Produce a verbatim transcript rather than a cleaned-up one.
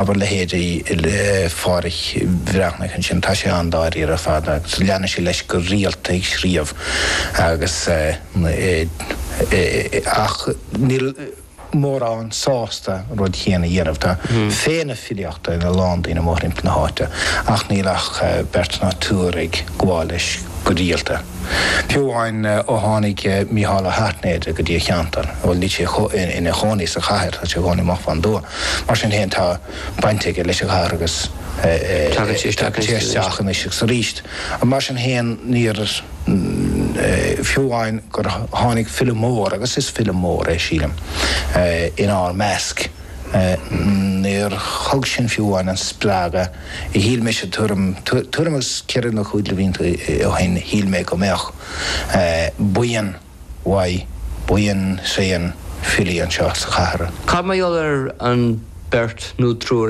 Abair leithéidí Phádraic Bhreathnaigh ansin, tá sé an-dáiríre ar fad agus leanann sé leis go rialta ag scríobh agus ach níl mórán sásta an rud chéanna a dhéanamh. Tá féith na filíochta ina lán daoine mórthimpeall na háite ach níl ach beirt ná triúr ag gabháil leis go rialta. Fiú amháin ó tháinig Mícheál Ó hAirtnéide go dtí an cheantar, bhuel níl sé ina chónaí sa chathair, tá sé i gcónaí amach fán dtuath. Mar sin féin tá baint aige leis an chathair agus tagann sé isteach anois agus arís. Mar sin féin níor, fiú amháin gur tháinig file mór, agus is file mór é sílim, inár measc, níor thug sin fiú amháin an spreagadh a shíl mise tuairim, tuairim agus ceithre nó cúig de bhlianta ó shin, shíl mé go mbeadh buíon mhaith, buíon tréan filí anseo sa chathair. Cad mar gheall ar an beirt nó triúr